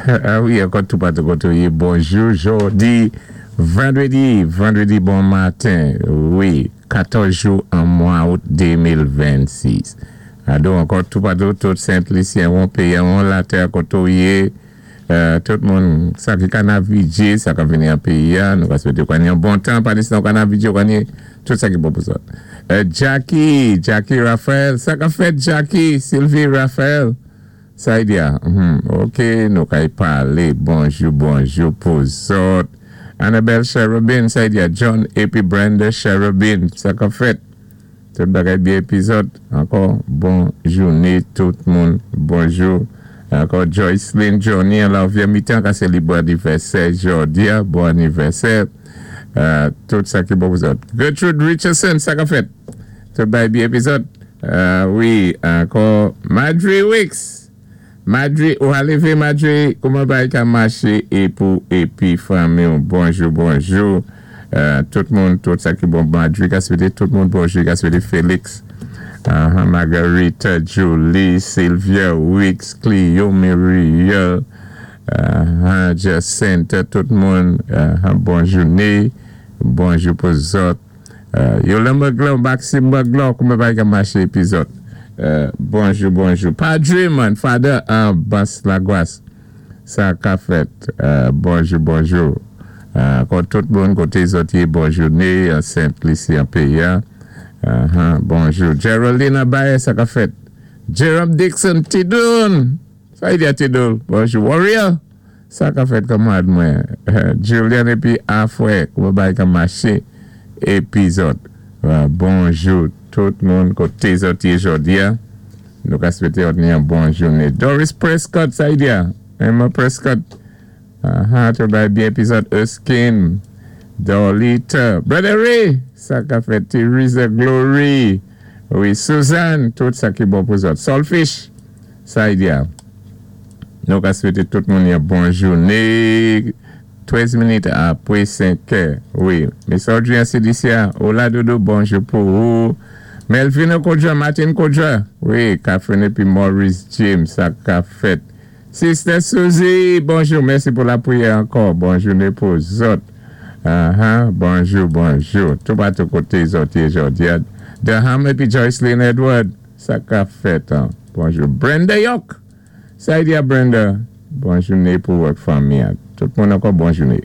A wi, ankò toupatou koté ou yé, bonjou jòdi vandrédi, vandrédi bon maten, wi, 14 jou an mwa out 2026. Ado ankò toupatou tout Sent Lisyen won péyi an won latè koté ou yé, tout moun sa ki ka navigé, sa ka vini an péyi a, nou ka swété ou ka ni yon bon tan, pandistan ou ka navigé ou ka ni tout sa ki bon pou zòt. Jackie, Jackie Raphaël, sa ka fèt Jackie, Sylvie Raphaël? Sa y di a? Hum, ok, nou kay palé, bonjou, bonjou pou zòt. Annabelle Cherubin, sa y di a? John épi Brenda Cherubin, sa ka fèt? Tout bagay byen épi zòt? Ankò, bon jouné tout moun, bonjou. Ankò Joyceline Johnny an Larvière Mitan ka sélébré anivèsè jòdi a, bon anivèsè. Tout sa ki bon pou zòt. Gertrude Richardson, sa ka fèt? Tout bagay byen épi zòt? Wi, ankò Marjorie Wicks! Marjorie, ou a lévé Marjorie? Kouman bagay ka maché é pou épi fanmi ou? Bonjou, bonjou tout moun, tout sa ki bon Marjorie ka swété tout moun bonjou, ka swété Félix, Marguerite, Julie, Sylvia Wicks, Clio, Muriel, Jacinthe, tout moun bon jouné, bonjou pou zòt. Yolande Magloire, Maxime Magloire, kouman bagay ka maché épi zòt? Bonjou, bonjou. Padre man, Father an Bas Lagwas, sa ka fèt? Bonjou, bonjou. Ankò tout moun koté zòt yé, bon jouné an Sent Lisi an péyi a. Bonjou. Geraldine Abaye, sa ka fèt? Jerome Dixon, Tidoun! Sa y di a Tidou? Bonjou Warrior! Sa ka fèt kanmarad mwen? Julian épi Afrè, kouman bagay ka maché épi zòt? Bonjou tout moun koté zòt yé jòdi a. Nou ka swété òt ni yon bon jouné. Doris Prescott, sa y di a? Emma Prescott, aha, tout bagay byen épi zòt? Erskine, Dorlita, Brother Ray, sa ka fèt? Theresa Glory, wi, Suzanne, tout sa ki bon pou zòt. Solfish! Sa y di a? Nou ka swété tout moun yon bon jouné. 13 minit apwé 5 è. Wi. Miss Audrey an Cilicia. Hola Dodo, bonjou pou ou. Melvino Kodja, Martin Kodja. Wi, Catherine épi Maurice James, sa ka fèt? Sister Suzy, bonjou. Mèsi pou lapriyè ankò. Bon jouné pou zòt. Aha, bonjou, bonjou. Toupatou koté zòt yé jòdi a. Durham épi Joyceline Edward. Sa ka fèt an? Bonjou Brenda York! Sa y di a Brenda? Bon jouné pou ou ak fanmi an. Tout moun ankò bon jouné.